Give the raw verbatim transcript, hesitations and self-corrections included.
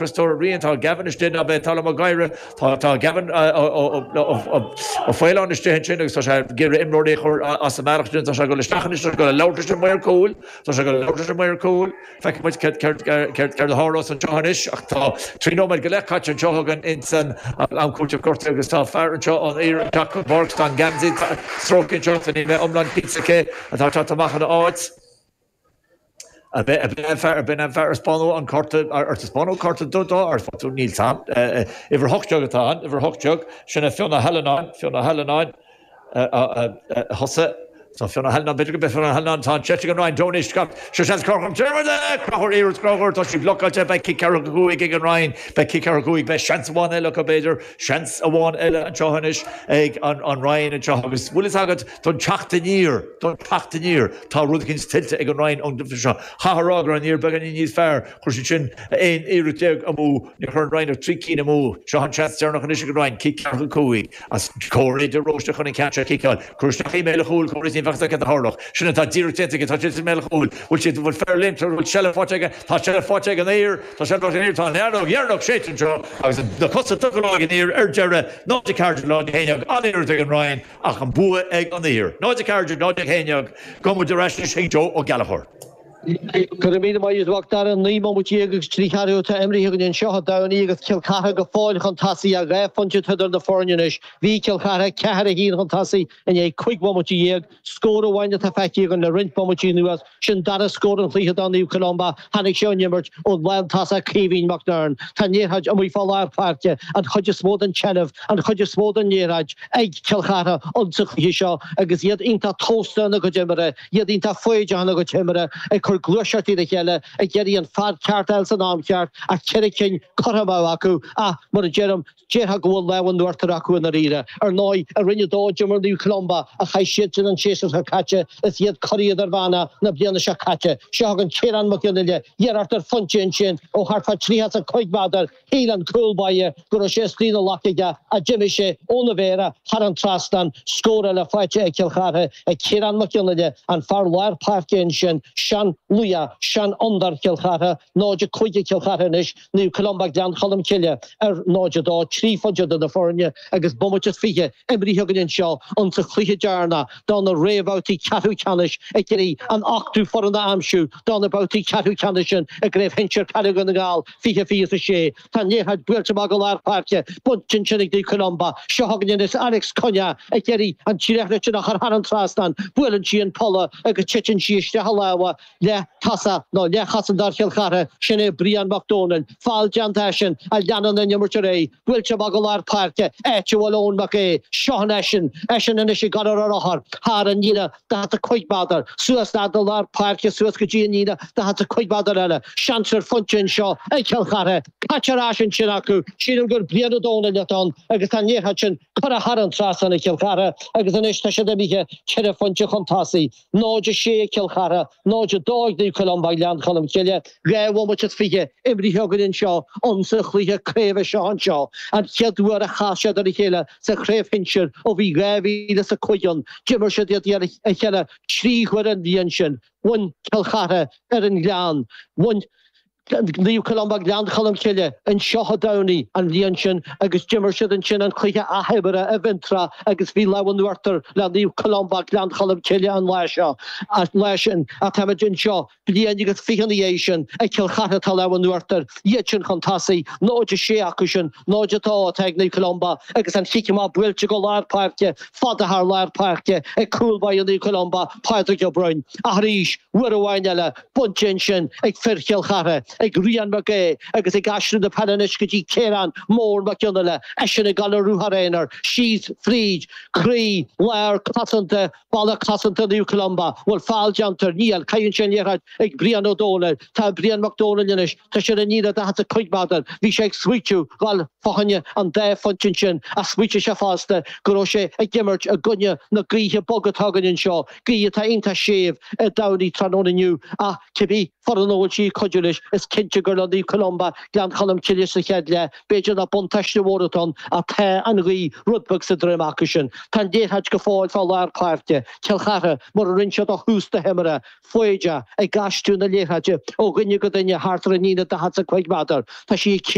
Freastóir rian tá Gavin istigh ná beidh tá gaire tá tá Gavin Ó Faoláin istigh sin agus tá sé ag iarraidh imreoirí a chur as an mbealach tá sé go isteach go labhairt an maor cúil tá sé go labhairt an maor cúil feicfidh muid céard a tharlós anseo anois ach tá trí nóiméad go leith caite anseo againn insan am cúiteamh gortaithe agus tá fear anseo an fhir teach Borg tá Gamsey stróicthe anseo ní mé iomlán cinnte cé atá teacht amach ina áit. A b'in bin an fear spáú an cárta ar spáú cárta do ar tú níl sam uimhir hocht déag atá an uimhir hocht déag sin é Fiona Hellenáin Fiona Hellenáin thosa Tá Fiona Hellenáin b'fhéidir go be Fiona Hellenáin tá se an Rinn Tony Scott se se chum Crochúr tá sí blocáilte beidh cic ceathracha cúig ag an Rinn beidh cic ceathracha cúig beidh seans amháin eile go b'fhéidir seans amháin eile anseo anois ag an an Rinn anseo agus bhfuil agad don teacht aniar don teacht aniar tá rud éigin tuillte ag an Rinn an seo Chathrágur an níor began níos fearr chuir siad sin aon iarracht déag amú ní chuir an Rinn ach trí cinn amú seo an seans deireanach anois ag an Rinn cic ceathracha cúig as Cóir de Róiste chun an ceann seo a chiceáil Cuir isteach i mbéal an chúil Cóir ní bheadh a tharlach sin atá díreach déanta tá sé mbéal an chúil bhfuil siad bhfuil fear linn bhfuil seilbh faighte aige tá seilbh faighte ag an fhear tá seilbh faighte ag an fhear tá an fheadóg dheireanach séidte anseo agus na cosa tugtha ag an fhear ar deireadh náid a ceathair náid a haon déag an-iarracht ag an Rinn ach an bua ag an fhear. Náid a ceathair náid a haon déag gabhfaidh muid ar ais chuig Joe Ó Gallchóir. Go raibh míle maith agat a Dhara naoi mbomaite déag agus trí cheathrú atá imrithe againn anseo i dTamhnaí agus Cill Chartha go fóill chun tosaigh a dhá phointe idir na foirne anois. Bhí Cill Chartha ceathair a haon chun tosaigh i ndiaidh cúig bhomaite dhéag, scór amháin atá feicthe againn le roinnt bomaití anuas sin dara scór an chluiche do Naomh Columba tháinig sé ón imirt ón lántosach Caoimhín McNern. Tá an liathróid amuigh fá lár páirce an chuid is mó den tseilbh an chuid is mó den liathróid ag Cill Chartha insa chluiche seo agus iad iontach tomhaiste ina gcuid imeartha, iad iontach foighdeach ina gcuid imeartha ag cur gluaiseachtaí le chéile ag iarraidh an fear ceart eile san am ceart ach ceithre cinn curtha amú acu ach mar a deirim déarfá go bhfuil lámh in uachtar acu i ndáiríre. Ar ndóigh i Roinn a dó d'imir Naomh Columba a chaill siad an séasúr seo caite is iad curaidh idirmheánach na bliana seo caite. Seo chugainn Ciarán Mac Fhionnaile, iarracht ar phointe ansin ó thart fá tríocha is a cúig méadar shíl an cúl báire go raibh sé istigh ina ghlac aige ach d'imigh sé óna mhéara thar an trasnán scór eile faighte ag Cill Chartha ag Ciarán Mac Fhionnaile an fear lár páirce ansin sean luath sean fhondúir Chill Chartha náid a cúig ag Cill Chartha anois Naomh Columba Gleann Cholm Cille ar náid a dó trí phointe idir na foirne agus bomaite is fiche imrithe againn anseo insa chluiche deireanach do na réamhbhabhtaí ceathrú ceannais ag iarraidh an ochtú foireann a aimsiú do na babhtaí ceathrú ceannais sin i gCraobh Shinsir Peile Dhún na nGall fiche fiche a sé. Tá an liathróid buailte amach go lár páirce bainte ansin ag Naomh Columba seo chugainn anois Alex Cunha ag iarraidh an liathróid sin a chur thar an trasnán buaileann sí an polla agus titeann sí isteach i lámha leath-tosaí nó leathchosantóir Chill Chartha sin é Brian Mac Dónaill feall déanta sin a leanann an imirt ar aghaidh buailte amach go lár páirce áit a bhfuil Eoin Mac Aodha seo eisean eisean anois ag gabháil ar a rothar thar an líne daichead a cúig méadar suas le do lár páirce suas go dtí an líne daichead a cúig méadar eile seans ar phointe anseo ag Cill Chartha caite ar ais ansin acu sílim gur Brian Ó Dónaill atá ann agus tá an liathróid sin curtha thar an trasnán ag Cill Chartha agus anois tá siad imithe ceithre phointe chun tosaigh náid a sé ag Cill Chartha náid a dó ag Naomh Columba Gleann Cholm Cille dhá bhomaite is fiche imrithe againn anseo insa chluiche craoibhe seo anseo an chéad uair a chas siad ar a chéile sa chraobh shinsir ó bhí dhá mhíle is a cúig ann d'imir siad iad ar a chéile trí huaire an bhliain sin bhain Cill Chartha ar an Ghleann bhain Naomh Columba Gleann Cholm Cille anseo i dTamhnaigh an bhliain sin agus d'imir siad ansin an cluiche athimeartha i bhFionntrá agus bhí lámh in uachtar le Naomh Columba Gleann Cholm Cille an lá seo lá sin ach táimid anseo bliain agus fiche ina dhiaidh sin ag Cill Chartha tá lámh in uachtar iad sin chun tosaigh náid a sé acu sin náid a dó atá ag Naomh Columba agus an chic amach buailte go lár páirce fada thar lár páirce ag cúl báire Naomh Columba Pádraig Ó Broin arís uair amháin eile bainte ansin ag fir Chill Chartha ag Rian Mac Aodha agus ag aistriú na peile anois go dtí Ciarán Mór Mac Fhionnaile eisean ag gabháil ar ruathar aonair síos fríd croí lár cosanta balla cosanta Naomh Columba bhfuil feall déanta níl caitheann sé an liathróid ag Brian Ó Dónaill tá Brian Mac Dónaill anois tá sé ar an líne daichead is a cúig méadar bhí sé ag smaoitiú gabháil fá choinne an dá phointe sin ach smaoitigh sé fosta go raibh sé ag imirt i gcoinne na gaoithe bog atá againn anseo gaoth atá iontach séimh i dTamhnaigh tráthnóna inniu ach cibé foireann a bhfuil sí ag cuidiú leis is Cinnte gur le Naomh Columba Gleann Cholm Cille sa chéad leath, b'fhéidir nach buntáiste mhór atá ann ach tá an ghaoth rud beag sa droim acu sin. Tá an liathróid go fóill fá lár páirce, Cill Chartha mar a rinne siad ó thús na himeartha, foighdeach ag aistriú na liathróide ó dhuine go duine thart ar an líne daichead is a cúig méadar. Tá sí ag